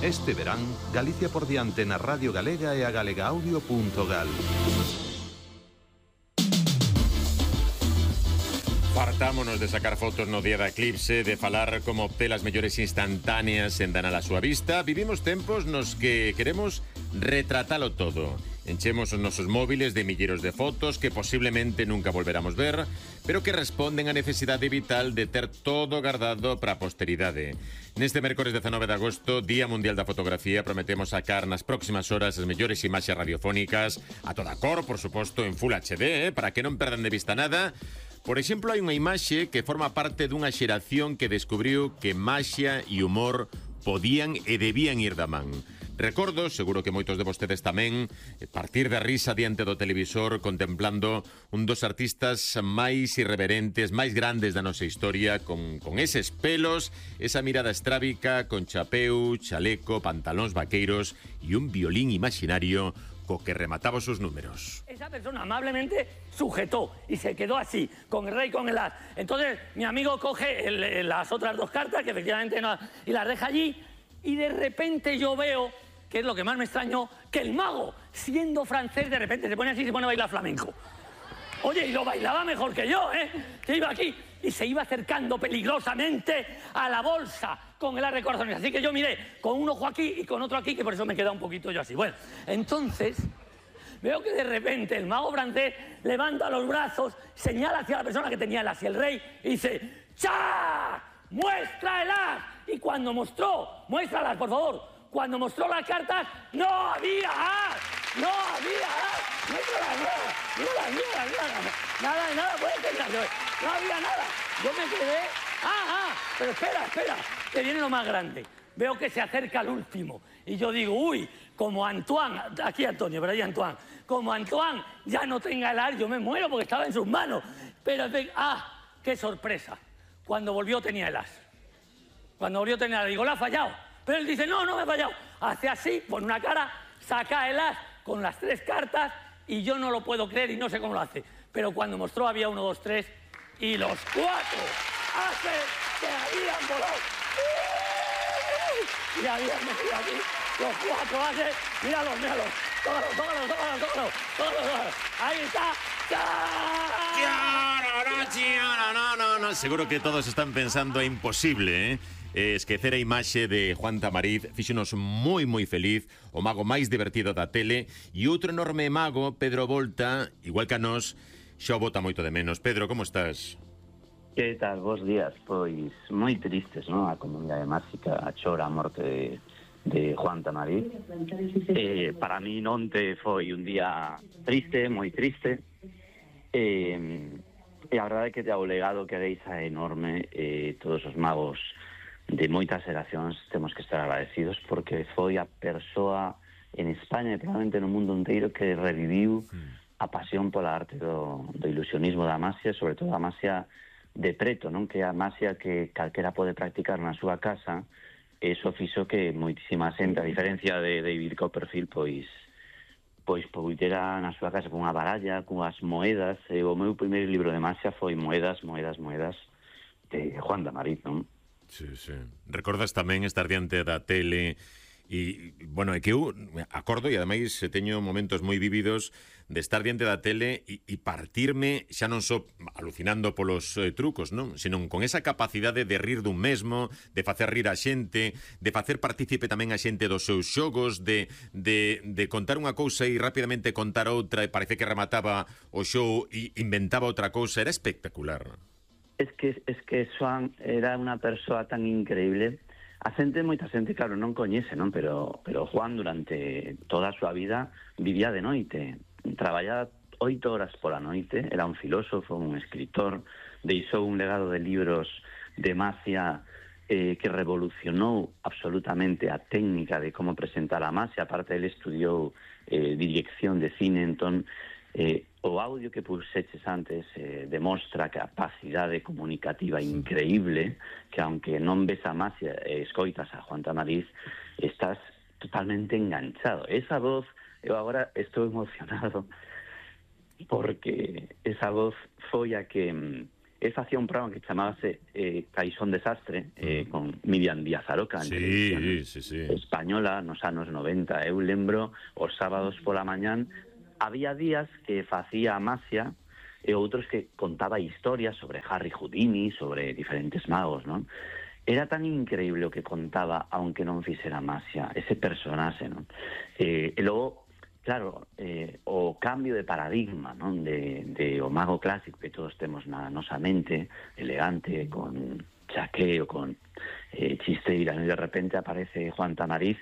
Este verán, Galicia por diante na Radio Galega e a galegaaudio.gal. Fartámonos de sacar fotos no día da eclipse, de falar como obter as mellores instantáneas en danar a súa vista. Vivimos tempos nos que queremos retratalo todo. Enchemos os nosos móviles de milleiros de fotos que posiblemente nunca volveramos ver, pero que responden á necesidade vital de ter todo guardado para a posteridade. Neste mércores 19 de agosto, Día Mundial da Fotografía, prometemos sacar nas próximas horas as mellores imaxes radiofónicas, a toda cor, por suposto, en Full HD, para que non perdan de vista nada. Por exemplo, hai unha imaxe que forma parte dunha xeración que descubriu que maxia e humor podían e debían ir da man. Recordo, seguro que moitos de vostedes tamén, partir da risa diante do televisor contemplando un dos artistas máis irreverentes, máis grandes da nosa historia, con eses pelos, esa mirada estrábica, con chapeu, chaleco, pantalóns vaqueiros e un violín imaginario co que remataba os seus números. Esa persona amablemente sujetó y se quedó así, con el rey, con el as. Entonces mi amigo coge las otras dos cartas, que efectivamente no, y las deja allí, y de repente yo veo, que es lo que más me extrañó, que el mago, siendo francés, de repente se pone así y se pone a bailar flamenco. Oye, y lo bailaba mejor que yo, ¿eh? Que iba aquí y se iba acercando peligrosamente a la bolsa con el as de corazones. Así que yo miré con un ojo aquí y con otro aquí, que por eso me queda un poquito yo así. Bueno, entonces veo que de repente el mago francés levanta los brazos, señala hacia la persona que tenía el as y el rey y dice: ¡cha! ¡Muestra el as! Y cuando mostró, muéstralas, por favor. Cuando mostró las cartas, no había as. No había as. Muéstralas, nada, puede ser. No había nada. Yo me quedé. Pero espera, que viene lo más grande. Veo que se acerca al último. Y yo digo, uy, como Antoine, aquí Antonio, pero ahí Antoine, como Antoine ya no tenga el as, yo me muero porque estaba en sus manos. Pero, qué sorpresa. Cuando volvió tenía el as. Digo, ¿la ha fallado? Pero él dice, no me ha fallado. Hace así, pone una cara, saca el as con las tres cartas y yo no lo puedo creer y no sé cómo lo hace. Pero cuando mostró había 1, 2, 3 y los 4 ases que habían volado. Y habían metido aquí los 4 ases. Míralos. Tócalos. Ahí está. No, seguro que todos están pensando é imposible, esquecer a imaxe de Juan Tamariz. Fíxonos moi feliz, o mago máis divertido da tele, e outro enorme mago, Pedro Volta, igual que a nós, xa o bota moito de menos. Pedro, como estás? Que tal, bons días? Pois moi tristes, non? A comunidade máxica a chora a morte de Juan Tamariz. Para mí onte foi un día triste, moi triste. E a verdade é que o legado que deixa é enorme. Todos os magos de moitas xeracións temos que estar agradecidos porque foi a persoa en España e probablemente no mundo inteiro que reviviu a pasión pola arte do ilusionismo da maxia, sobre todo a maxia de preto, non? Que é a maxia que calquera pode practicar na súa casa. Eso fixo que moitísima xente, a diferencia de David Copperfield, pois poidera na súa casa con unha baralla, con as moedas. O meu primeiro libro de maxia foi Moedas de Juan Tamariz, non? Sí. Recordas tamén estar diante da tele e, bueno, é que eu acordo e ademais teño momentos moi vívidos de estar diante da tele e partirme, xa non só alucinando polos trucos, non? Senón con esa capacidade de rir dun mesmo, de facer rir a xente, de facer partícipe tamén a xente dos seus xogos, de contar unha cousa e rapidamente contar outra e parece que remataba o show e inventaba outra cousa. Era espectacular. Es que Juan era unha persoa tan increíble. Moita xente, claro, non coñece, non? Pero Juan durante toda a súa vida vivía de noite. Traballaba 8 horas pola noite, era un filósofo, un escritor, deixou un legado de libros de maxia que revolucionou absolutamente a técnica de como presentar a maxia. Aparte, ele estudiou dirección de cine, entón o audio que puxeches antes demostra capacidade comunicativa increíble, que aunque non ves a maxia e escoitas a Juan Tamariz, estás totalmente enganchado. Esa voz, eu agora estou emocionado porque esa voz foi a que facía un programa que chamábase Caixón Desastre, con Miriam Díaz Aroca, en televisión española, nos anos 90. Eu lembro, os sábados pola mañán, había días que facía Amasia e outros que contaba historias sobre Harry Houdini, sobre diferentes magos, non? Era tan increíble o que contaba, aunque non fixera Amasia, ese personaxe, non? E logo, claro, o cambio de paradigma, non? De o mago clásico que todos temos na nosa mente, elegante, con chaqueo, con chisteira, e de repente aparece Juan Tamariz